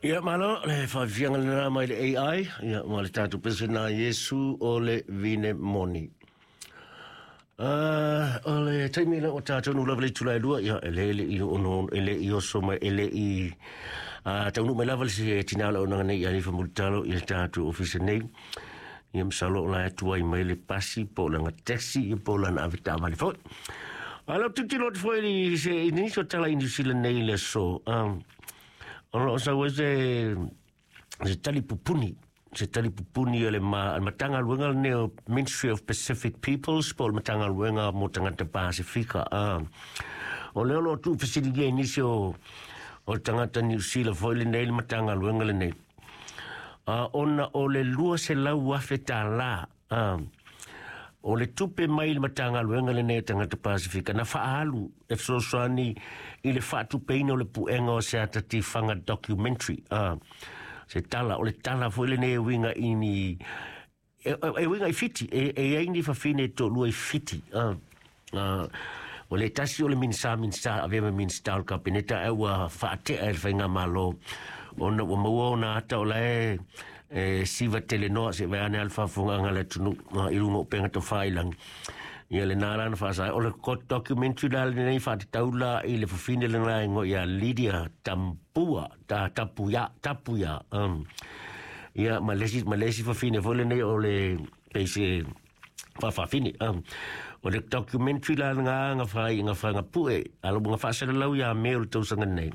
Ia malo le faafiafiaga lena mai le AI, ia ma le tatou pese na Iesu o le vine moni. O le taimi lea ua tatou nu lava le itula e 2, ia e le le i ono e le i oso mai e le i taunuu mai lava le se tina o le auaunaga nei ia Alifa Mulitalo i le tatou ofisa nei. Ia masalo o la e tuai mai le pasi po o lana taxi ia po o lana avetaavale foi. A lau tilotilo atu foi i se i nisi o tala i New Zealand nei i le aso, o lo o sau ai se tali pupuni, se tali pupuni o le Matagaluega lenei o Ministry of Pacific Peoples po o le Matagaluega mo Tagata Pasifika. O lea o lo o tuufesiligia i nisi o tagata Niu Sila foi lenei le Matagaluega lenei, ona o le $200,000 o le tupe mai le Matagaluega lenei o Tagata Pasifika na faaalu e fesoasoani i le faatupeina o le puega o se ata tifaga documentary. Se tala, o le tala foi lenei e uiga i ni e uiga i Fiti, e ai ni fafine e toalua i Fiti. O le tasi o le Minisita, Minisita, avea ma Minisita o le Kapeneta, ae ua faatea e le faigamalo ona ua maua ona ata o la e siva telenoa se vaeane a le faafofogaaga a le atunuu i luga o upega tafailagi. Ia lena la na faasa o le documentary la lenei faatatau la i le fafine lena e igoa ia Lydia Tampua, ta Tapuia, Tapuia. Ia ma le isi fafine foi lenei o le peise faafafine. O le documentary la nga nga fai nga fai nga pue ala nga faasalalau ia me o le tausaga nei.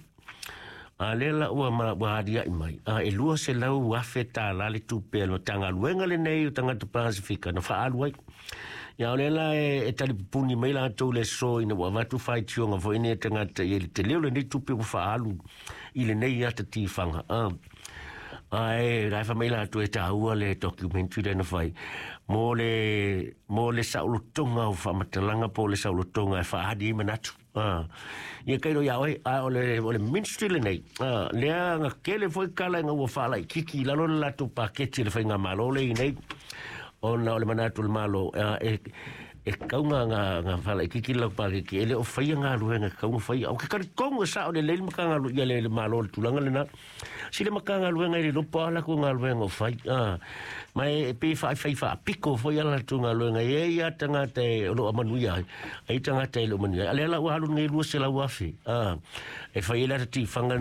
A lea la ua ua alia'i mai e $200,000 le tupe a le Matagaluega lenei o Tagata Pasifika na faaalu ai. Ia o lea la e talipupuni mai latou le aso ina ua avatu faitioga foi nei a tagata i le tele o lenei tupe ua faaalu i lenei ata tifaga. Ae la e fai mai latou e taua le documentary lea na fai mo le saolotoga o faamatalaga po o le saolotoga e faaali ai manatu. Ia kailo ia oe, a o le ministry lenei, lea nga kele foi kala nga ua faalaititi i lalo le latou paketi le faigamalo le i nei, ona o le manatu o le malo, e kauga nga faalaititi le lau paketi, e le o faia galuega e kauga faia. O ke talitonu e sao lelei le Matagaluega ia le malo le tulaga lena. Si le Matagaluega i le lopo a latou galuega o fai. Ma e pei faafai faapiko foi a latou galuega e ia tagata e o lo o manuia ai, ai tagata e le o manuia ai. A lea la ua alu nei $200,000 e fai ai le ata tifaga.